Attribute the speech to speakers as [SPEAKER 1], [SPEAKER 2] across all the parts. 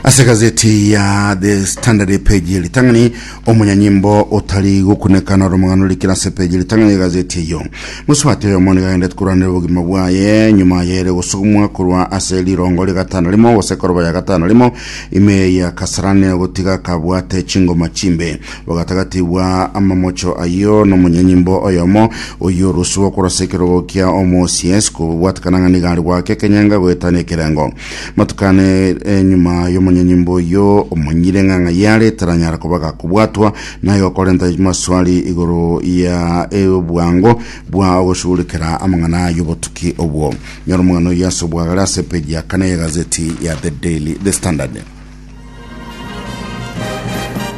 [SPEAKER 1] Ase gazeti ya The Standard page ye ritang'ani omonyanyimbo otari gokunekana ore omong'ana orikire ase page ye ritang'ani ye gazeti eyio. Mosubati oyomo nigo agendete korwanera obogima bwaye nyuma yere gosugumwa korwa ase rirongo ria gatano rimo gose koroba ya gatano rimo ime ya Kasarani gotiga akabwate chingoma chimbe. Bogatagati bwa amamocho ayio nomonyanyimbo oyomo oyio orusigwe korwa ase ekerogo kia omoCS kobwatekana ng'a nigo are goaka ekenyenga goetania ekerengo. Matuko ane enyuma y'omonyanyimbo oyio omonyire ng'a ng'ai are taranyara koba gakobwatwa, na igo korenta maswali igoro ya obwango bwa ogoshughulikera amang'ana y'obotuki obwo. Nyora omong'ana oyio ase obwagare ase epeji ya kane y'egazeti ya The Daily The Standard.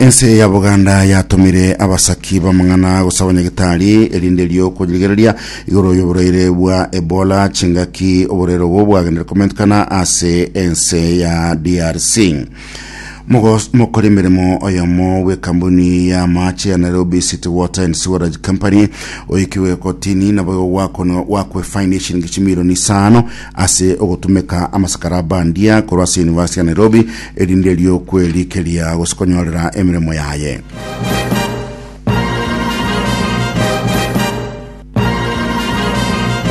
[SPEAKER 1] Ense ya Buganda yatomire abasaki b'amang'ana gose abanyagitari erinde erio korigereria igoro y'oborwaire bwa Ebola chingaki oborwaire obo bwagenderire komentekana ase ense ya DRC. Mogos- Mokori emeremo oyomo bw'ekambuni ya amache ya Nairobi City Water and Sewerage Company oikiwe kotini naboigo gwakonwa gwakwe faini eshiringi chimilioni isano ase ogotumeka amasakara a bandia korwa ase University ya Nairobi, erinde erio kwerikeria gose konyorera emeremo yaye.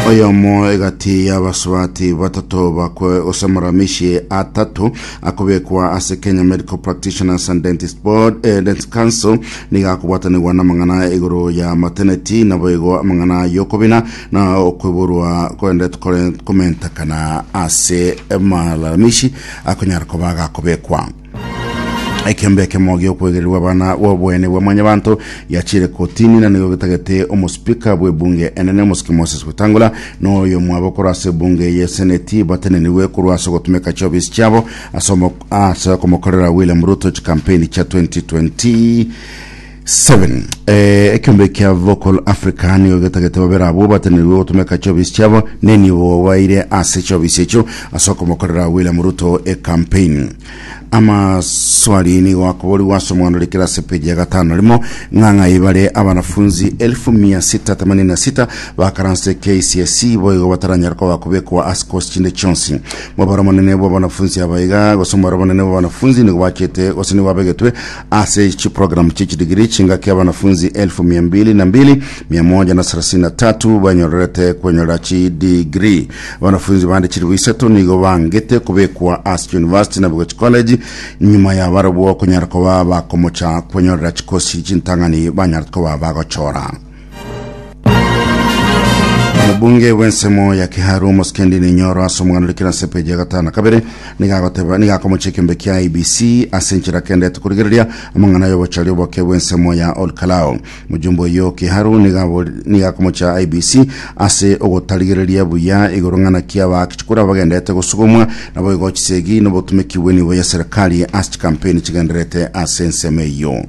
[SPEAKER 1] Oyomo egati y'abasubati batato bakwe gose amaramishi atato akobekwa ase Kenya Medical Practitioners and Dentist Board, eh, Dentist Council nigo akobwatanigwa n'amang'ana igoro ya maternity naboigo amang'ana y'okobina na okoiborwa kogenderete kore komentekana ase amalalamishi akonyara koba agakobekwa. Ekiombe ekemo gi'okwegererwa abana bw'oboene bwa mwanyabanto giachire kotini na nigo getagete omospika bw'ebunge enene omosike Moses Wetangula na oyomwabo korwa ase ebunge ye seneti batenenigwe korwa ase ogotumeka chiofisi chiabo ase omo- ase okomokorera William Ruto chikampeni chia 2027 Eh, ekiombe kia Vocal Africa nigo getagete babere abwo batenenigwe gotumeka chiofisi chiabo nenibo baire ase chiofisi echio ase okomokorera William Ruto ecampaign. Amaswali nigo akoborigwa ase omwana ore kera ase peji ya gatano rimo ng'a ng'ai bare abanafunzi elfu mia sita themanini na sita bakaranse KCSE boigo bataranyara koba kobekwa ase kosi chinde chionsi. Mobaro omonene bw'abanafunzi aba iga gose omobaro omonene bw'abanafunzi nigo bachete gose nigo babegetwe ase chiprogramu chie chidigiri chingaki abanafunzi elfu mia mbili na mbili mia moja na thelathini na tatu banyorerete kwenyorera chidigiri. Abanafunzi bande chilifu isato nigo bangete kobekwa ase chiuniversity na boigo chicollege nyuma ya barabwo konyara koba bakomocha kwenyorera chikosi chintang'ani banyarete koba bagochora. Omobunge bw'ensemo ya Kiharu Omosike Ndini Nyoro ase omogano orikire ase epeji ya gatano na kabere nigo agoteba nigo akomocha ekiombe kia IEBC ase enchera kendete korigereria amang'ana y'obochori oboke bw'ensemo ya Olkalou. Mojumbe oyio Kiharu nigo abori nigo akomocha IEBC ase ogotarigereria buya igoro ng'a naki abaaki chikura bagendete gosugumwa naboigo chisegi na obotumeki bw'enibo ya serikali ase chikampeni chigendererete ase ensemo eyio.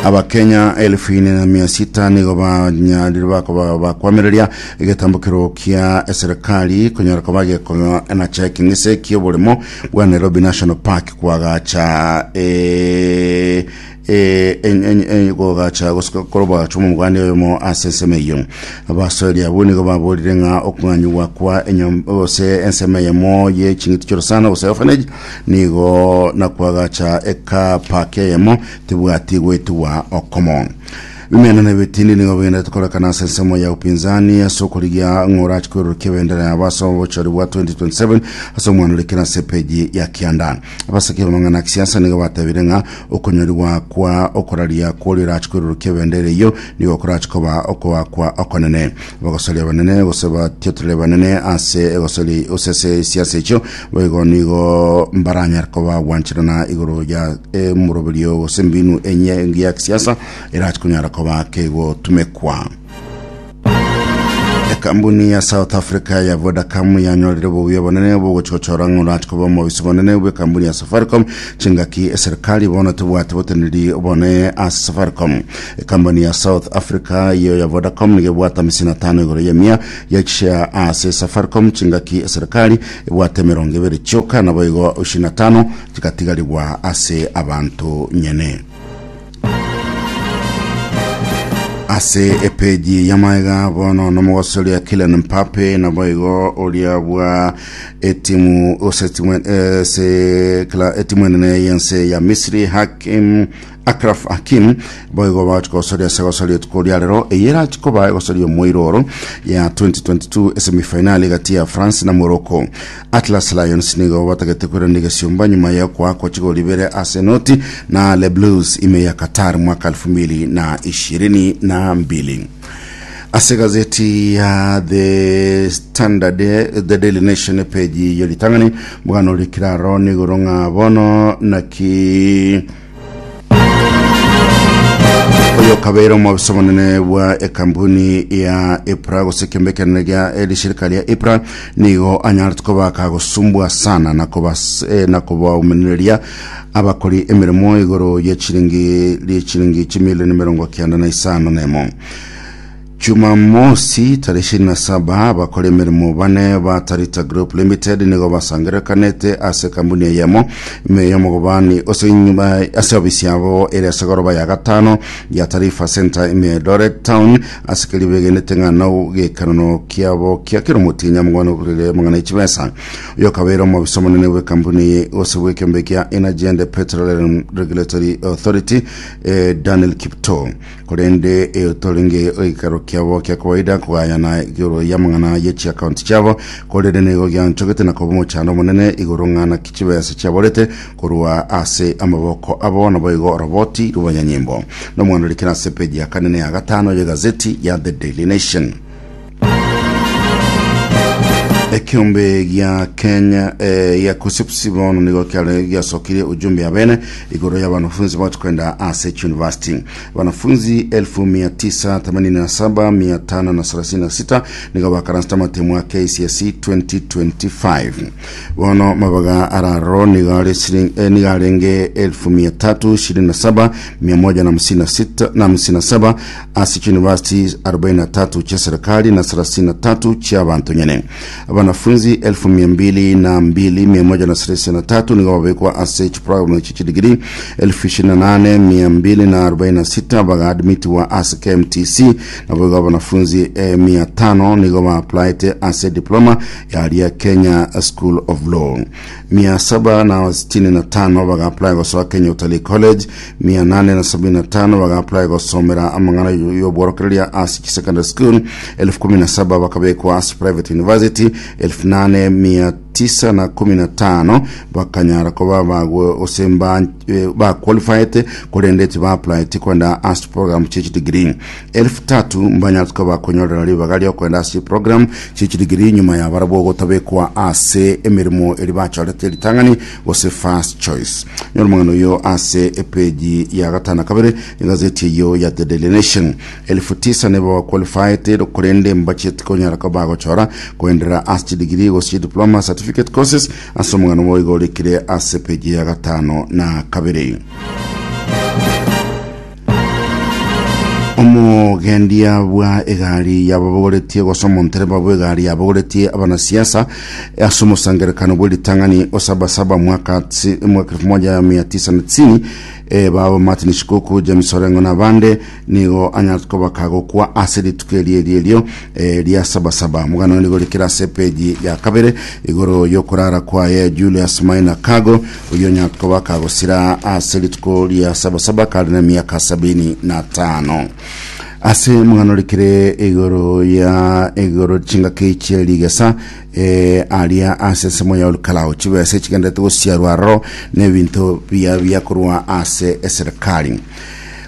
[SPEAKER 1] Abakenya elfu ine na mia sita nigo banyarire bakoba bakwamereria egetambokero kia eserikali konyora koba gekonacha ekeng'ese ki'oboremo bwa Nairobi National Park kwagacha eh, eh, en- en- en- kogacha gose korobagacha omoganda oyomo ase ensemo eyio abasoeri abwo nigo baborire ng'a okong'anyigwa kwa enyom- gose ensemo eyemo ye ching'iti chi'orosana gose orphanage Nigo nakwagacha ekaapa k'eyemo tibwati goetigwa okomo. Bimeno na ebitindi nigo bigenderete korekana ase ensemo ya upinzani ase okorigia ng'a orache koirurukia ebendera yabo ase obochori bwa 2027 ase omwana ore kera ase epeji ya kianda. Abasake b'amang'ana a kisiasa nigo batebire ng'a okonyorigwa kwa okoraria kworia orache koirurukia ebendera eyio nigo korache koba okoakwa okonene. Abagosoria abanene gose batiotoreri abanene ase egosori gose ase esiasa echio Boigo nigo mbaranyare koba gwancherana igoro ya emoroberio gose embinu enye engiya ya kisiasa erache konyara koba kegotumekwa. Ekambuni ya South Africa ya Vodacom yanyorire obobuya obonene bogochi gochora ng'a orache koba omobisi bonene bw'ekambuni ya Safaricom chingaki eserikali bono tebwati boteneneri obonene ase Safaricom. Ekambuni ya South Africa eyio ya Vodacom nigo ebwate amisini atano igoro y'emia ye chishare ase Safaricom chingaki eserikali ebwate emerongo ebere chioka, naboigo ishirini na tano chigatigarigwa ase abanto nyene. Ase epeji y'amaega bono nomogosoria Kylian Mbappe naboigo oria bwa etimu ose etimu ase kla etimu enene y'ense ya Misri Hakim Achraf Hakim boigo bagochi gosoria ase gosoria rituko ria rero eye erachi koba egosoria omoiro oro ya 2022 esemifinali gati ya France na Morocco. Atlas Lions nigo batagete koirania egesiomba nyuma ya okoakwa chigori ibere ase enoti na Le Blues ime ya Qatar mwaka 2022. Ase egazeti ya The Standard, The Daily Nation epeji ye ritang'ani omogano orikire aro nigoro ng'a bono naki Oyo okabeire omobisa omonene bwa ekampuni ya EPRA gose ekiombe ekenene gia erishirika ria EPRA nigo anyarete koba kagosumbua sana na kobas, eh, na kobaumenereria abakori emeremo igoro ye chiringi rie chiringi chimilioni 95 nemo. Jumamosi tarehe 27 abakora emeremo bane ba Tarita Group Limited nigo basangererekanete ase ekambuni eyemo ime y'omogobani ose inyuma ase ofisi yabo ere ase goroba ya gatano ya Tarifa Center ime ya Eldoret Town ase keria begenete ng'a nogekanono kiabo kia kera omotienyi amang'ana okorire amang'ana echibesa. Oyo okabeire omobisa omonene bw'ekampuni gose bw'ekeombe kia Energy and Petroleum Regulatory Authority eh, Daniel Kiptoo. Korende etorenge egeikaro kiabo kia kawaida kogayana igoro y'amang'ana ye chiakaunti chiabo, korende nigo gianchogete na koba omochando omonene igoro ng'a naki chibesa chiaborete korwa ase amaboko abo naboigo oroboti rw'abanyanyimbo. Nomwana orikire ase epeji ya kane na ya gatano y'egazeti ya The Daily Nation. Ekiombe gia Kenya eh, ya KUCCPS bono nigo kiare giasokirie ujumbe ya bene igoro ya wanafunzi bagochi kwenda ase university. Wanafunzi 987536 nigo bakaransete amatemo a KCSE 2025. Bono mabaga araro nigo are siling, eh, nigo arenge 327157 ase chiuniversity 43 chia serikali na 33 chi'abanto nyene. Abanafunzi 202,133 nigo babekwa ase chiprogramu echi chidigiri 28,246 bagaadmitiwa ase KMTC naboigo abanafunzi eh, 500 nigo baaplaete ase diploma yaria Kenya School of Law. 765 bagaapply gosoa Kenya Utalii College 875 bagaapply gosomera amang'ana y'obworokereria ase chisecondary school, 17,000 bakabekwa ase private university, 8915 bakanyara koba bagwe gose mba baqualified korende tibaapplyeti kwenda ase chiprogram chie chidegree. 3,000 mbanyarete koba bakonyorera ribaga riokoenda ase chiprogram chie chidegree nyuma ya barabwo gotabekwa ase emeremo eria bachorete ritang'ani gose first choice. Nyora omong'ina oyio ase epeji ya gatano na kabere egazeti eyio ya The Daily Nation. 9,000 nibo baqualified korende mbachieti konyara koba bagochora koenderera ase chidegree gose chidiploma certificate courses ase omong'ina obo igo orikire ase epeji ya gatano na kabere. Omogendia bwa egari yababogoretie gose omontereba bw'egari yabogoretie abanasiasa ase omosangerekano bw'eritang'ani o Sabasaba mwaka tsi- mwaka 1990 eh, babo Martin Shikuku, James Orengo na abande nigo anyarete koba kagokwa ase rituko eri eri erio eh, ria Sabasaba. Omogano nigo orikire ase epeji ya kabere igoro y'okorara kwaye Julius Maina Kago Oyio onyarete koba akagosira ase rituko ria sabasaba kare nemiaka 75. Ase omogano orikire igoro ya igoro chingaki chie rigesa eh, aria ase ensemo ya Olkalou chibesa echigenderete gosiarwa aroro na ebinto bia biakorwa ase eserikali.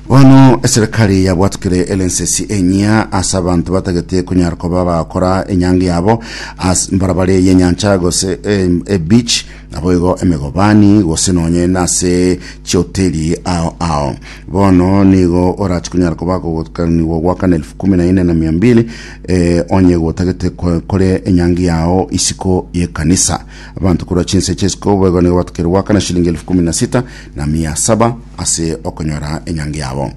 [SPEAKER 1] Bono eserikali yabwatukire elensesi enyia ase abanto batagete konyara koba bagokora enyangi yabo ase mbarabare y'enyancha gose eh, ebeach Naboigo emegobani, gose nonye nase chihoteli ao ao. Bono nigo orache konyara koba kogokanigwa goakana 14,200 eh, onye gotagete kore enyangi yao isiko y'ekanisa. Abanto korwa chinse chi'isiko boigo nigo batakeire goakana shilingi 16,700 ase okonyora enyangi yabo.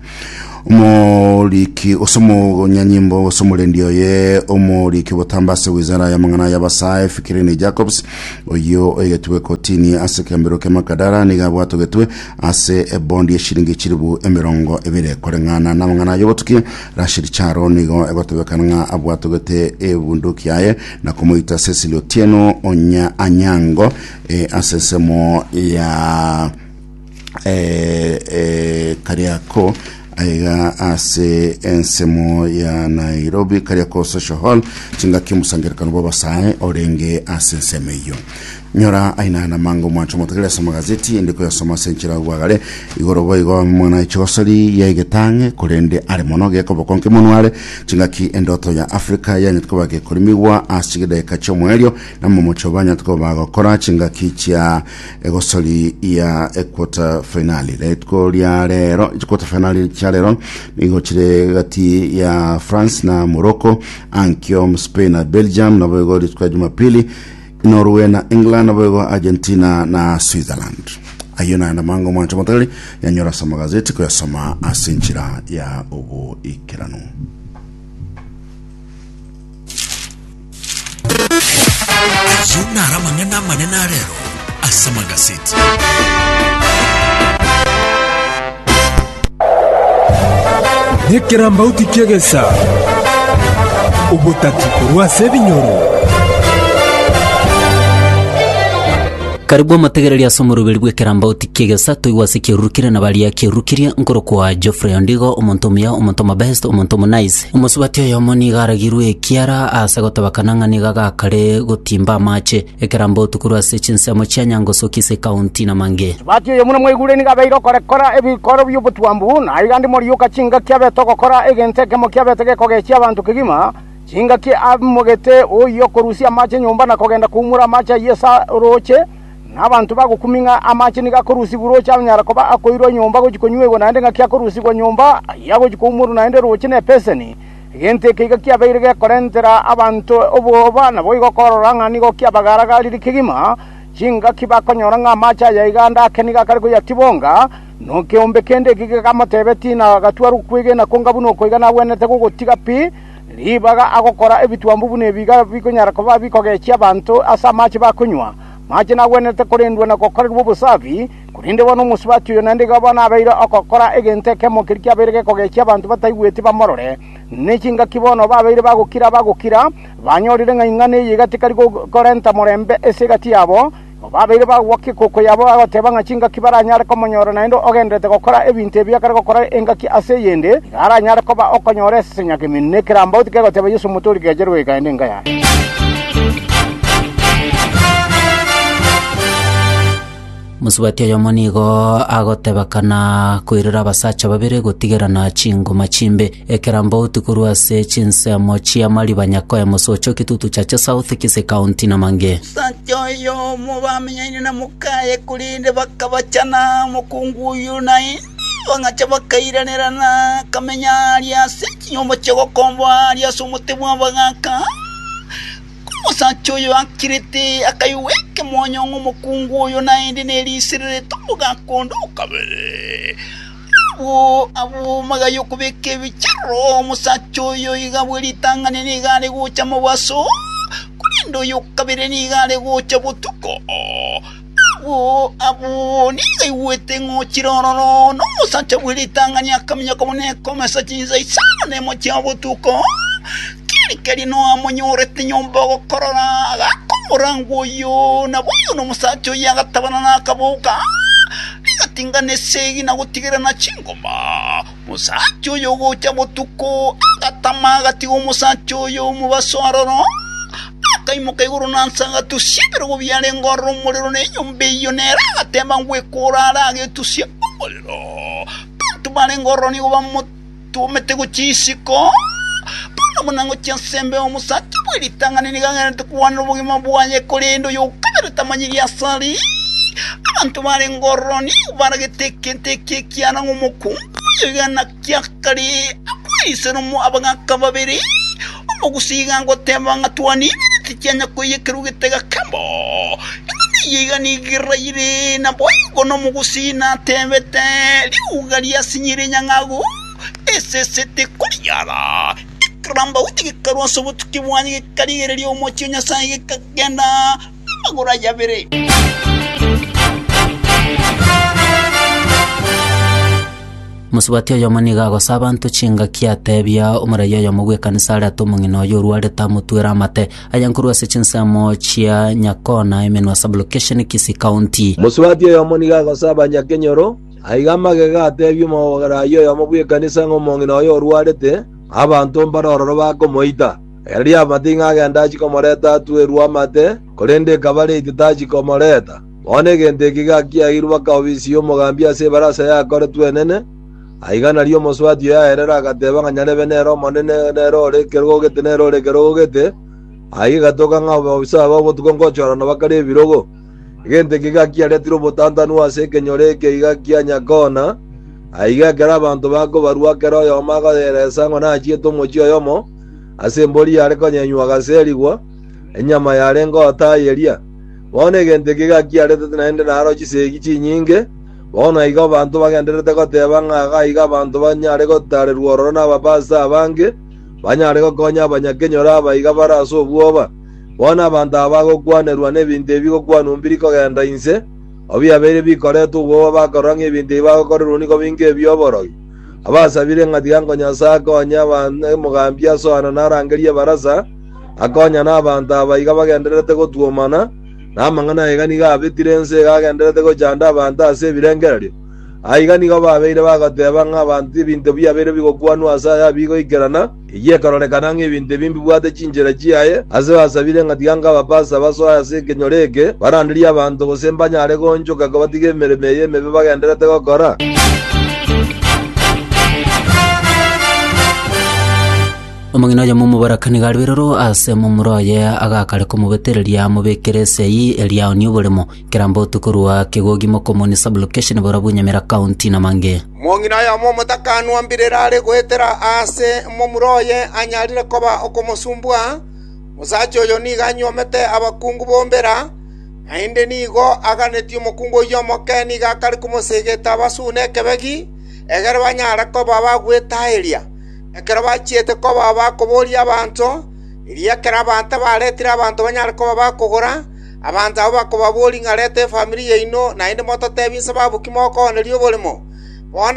[SPEAKER 1] Omoriki ose omonyanyimbo gose omorendi oye omoriki botambe ase wizara y'amang'ana y'abasae Fikirini Jacobs oyio oigetwe kotini ase ekembero kia Makadara nigo abwatogetwe ase ebondi y'eshiringi chilibu 20 koreng'ana n'amang'ana y'obotuki. Rashid Charo nigo egotebekana ng'a abwatogete ebunduki yaye na komoita Cecily Otieno Onya Anyango eh, ase ensemo ya eh, eh, Kariakoo aiga ase ensemo ya Nairobi Kariakoo Social Hall chingaki omosangerekano bw'abasae orenge ase ensemo eyio nyora aina na mango mwancho motegerere ase amagazeti ende koyasoma ase enchera bwagare igoro boigo mwana echigosori ya egetang'e korende are mono gekoboko nkemonwa are chingaki endoto ya Africa yanyete koba gekorimigwa ase chidakika chi'omoerio namomocho banyete koba bagokora chingaki chia Egosori ya equarter finali rituko ria rero quarter finali chia rero nigo chire gati ya France na Morocco ankio Spain na Belgium nabo igo rituko ya Jumapili Norway na England nabo igo Argentina na Switzerland ayio naende mango mwancho motari yanyora ase amagazeti koyasoma ase enchera ya oboikeranu.
[SPEAKER 2] Ayio naro amang'ana amanene arero ase amagaseti.
[SPEAKER 3] Nekerambauti ki'egesa, obotati korwa ase ebinyoro.
[SPEAKER 4] Karibu omotegereri ase omoroberi bw'ekerambauti ki'egesa toigwe ase kiarurukirie na baria kiarurukirie nkorokwa Geoffrey Ondigo omonto omuya omonto omobest omonto omonaice Omosubati oyomo nigo aragirwe ekiara aase gotebekana ng'a nigo agakare gotimba amache ekerambauti korwa ase chinsemo chia Nyangosoki ase ekaunti na Mange.
[SPEAKER 5] Omosubati oyo buna mwaigure nigo abeire okorekora ebikoro bi'obotwambu, na aiga ande morioka chingaki abete ogokora egento ekemo kiabete gekogechia abanto kegima, chingaki amogete oyio okorusia amache nyomba na kogenda koumora amache ayio ase orooche, Na abanto bagokumia ng'a amache nigo akorusigwa rooche anyara koba akoirwa nyomba gochia konywegwa, naende ng'aki akorusigwa nyomba ayio agochia koumorwa naende rooche nepeseni. Egento eke iga kiabeire gekorentera abanto obwoba, naboigo korora ng'a nigo kiabagara-garire kegima, chingaki bakonyora ng'a amache aya iga ande ake nigo akare koyatibonga. Nokeombe kende eke gekamotebetie na gatware okwegena konga buna oko iga nagwenerete gogotiga pi, ribaga agokora ebitwambu buna ebi iga bikonyara koba bikogechia abanto ase amache bakonywa. Amache nagwenerete korendwa na gokorerwa obosafi, korende bono omosubati oyo naende iga bono abeire ogokora egento ekemo keria kiabeire gekogechia abanto bataigweti bamorore. Ne chingaki bono babeire bagokira bagokira, banyorire ng'a ing'ana eye iga tikari korenta morembe ase egati yabo. Igo babeire bagwokia ekoko yabo bagoteba ng'a chingaki baranyare komonyora naende ogendererete gokora ebinto ebi akare gokora engaki ase eyende, iga aranyare koba okonyora esenyakemenu na ekerambauti kegoteba Yeso Omotoori kecherwe goika ende enka yaye.
[SPEAKER 4] Mosubati oyomo nigo agotebekana koirera abasacha babere gotigerana chingoma chimbe. Ekerambauti korwa ase chinsemo chia Mariba Nyakoe Mosocho Kitutu Chache South Kisii County na mange.
[SPEAKER 6] Omosacha oyomo bamenyaine na mokaye, korende bakabachana. Omokungu oyio naende bang'acha bakairanerana, akamenya aria ase chinyomba chi'ogokomboa aria ase omote bw'abagaaka. Omosacha oyo akirete, akaigwa ekemonyo ng'a omokungu oyo naende nerisererete omogaka onde o kabere. Abwo abwo magaya okobeka ebichero, omosacha oyo iga bwe ritang'ani nigo are gocha mobaso, korende oyo o kabere nigo are gocha botuko. Abwo abwo nigo aigwete ng'a ochire ororo, na omosacha bwe ritang'ani akaminyoka buna ekomesa chinsa isano nemo chia botuko. Keri-keri Noa amonyorete nyomba ogokorora, agaaka omorango oyio, naboigo nomosacha oyio agatabana na akaboka, rigatingana esegi na gotigerana chingoma. Omosacha oyo ogocha botuko agatama agatiga omosacha oyo omobaso aroro, akaimoka igoro na nse agatusia ebirogo biarenge ororo omorero na enyomba eyio nere agateba ngwekora are agetusia omorero. Abanto barenge ororo nigo bamotomete gochia isiko. Bono buna ngochia ase embeo omosacha bwe ritang'ani nigo agendererete kogwanera obogima bwaye, korende oyo o kabere tamanyiri ase are. Abanto barenge ororo nigo baragete egento eke ekiara ng'a omokungu oyo iga naki akare akwerisera abagaaka babere. Omogusii iga agoteba ng'a twanibire tichianya koiyekerwa getega kemo. Eng'ana eye iga nigo eraire, naboigo nomogusii natebete, Riuga riasinyire enyang'agu. Esese tekoriara. Ekerambauti gekarwa ase obotuki bwaye gekarigereria omochie o Nyasae gekagenda amagoro aye abere.
[SPEAKER 4] Mosubati oyomo nigo agosa abanto chingaki atebia omorai oyomo bw'ekanisa arete omong'ina oyo orwarete amotwere amate. Aya nkorwa ase chinsemo chia Nyakona, Emenwa Sub-location, Kisii County.
[SPEAKER 7] Mosubati oyomo nigo agosa abanyakenyoro, aiga amagega atebie omorai oyomo bw'ekanisa ng'a omong'ina oyo orwarete, abanto mbare ororo bakomoita. Erio amate ng'a agende achie komoreta atwerwe amate, korende ekaba reiti tachia komoreta. Bono egento eke gakiagirwe baka ofisi y'omogambi ase ebarasa yakoretwe enene. Aiga nario omosubati oyo aerera agateba ng'a nyarebe nere omonene, nere ore ekerogo gete, nere ore ekerogo gete. Aiga egatoka ng'a abaofisa aba obotuko ngochorana bakare ebirogo. Egento eke gakiaretire obotantanu ase ekenyoro eke iga kia Nyakona. Aiga ekero abanto bakobarua kera oyomo akoyeresa ng'a nachiete omochie oyomo ase embori yare konyenywa agaserigwa, enyama yarenge otayeria. Bono egento eke gakiaretete naende naro chisegi chinyinge. Bono aiga abanto bagendererete goteba ng'a aiga abanto banyare gotarerwa ororo nabapastor abange, banyare gokonya abanyakenyoro aba iga bare ase obwoba. Bono abanto aba bagokwanerwa nebinto ebi gokwanwa mbiri kogenda inse, obiabeire bikoretwa obwoba bakorora ng'a ebinto ebi bagokorerwa nigo binga ebi'oborogi. Abasabire ng'a tiga nko Nyasae akonye omogambi asoana narangerie ebarasa, Akonya nabanto aba iga bagendererete gotwomana, na amang'ana aiga nigo abetire ense iga agendererete gochanda abanto ase ebirengererio. Aiga nigo babeire bagoteba ng'a abanto ebinto biabeire bigokwanwa ase aya bigoikerana, eyio ekororekana ng'a ebinto ebi mbibwate chinchera chiaye, ase basabire ng'a tiga nk'abapastor basoe ase ekenyoro eke, baranderie abanto gose mbanyare goonchoka kobatiga emeremo eye emebe bagendererete gokora.
[SPEAKER 4] Omong'ina oyomo omoboraka nigo arwe iroro ase momura oye agakare komobetereria amobekere esei eria aonie oboremo. Kerambauti korwa Kegogi Mokomoni Sub-location Borabu Nyamira County na mange.
[SPEAKER 8] Omong'ina oyomo omotakanwa mbirero are goetera aase momura oye anyarire koba okomosumbua. Omosacha oyo nigo anyuomete abakungu bombera, naende nigo aganetie omokungu oyio omoke nigo akare komosegeta abasune ekebegi, egere banyare koba bagwetaeria. Ekero bachiete koba bakoboria abanto, erio ekero abanto baretire abanto banyare koba bakogora, abanto abwo bakobaboria ng'a reta efamiri yaino, naende mototebi inse babu ki mokooneria oboremo. Bono.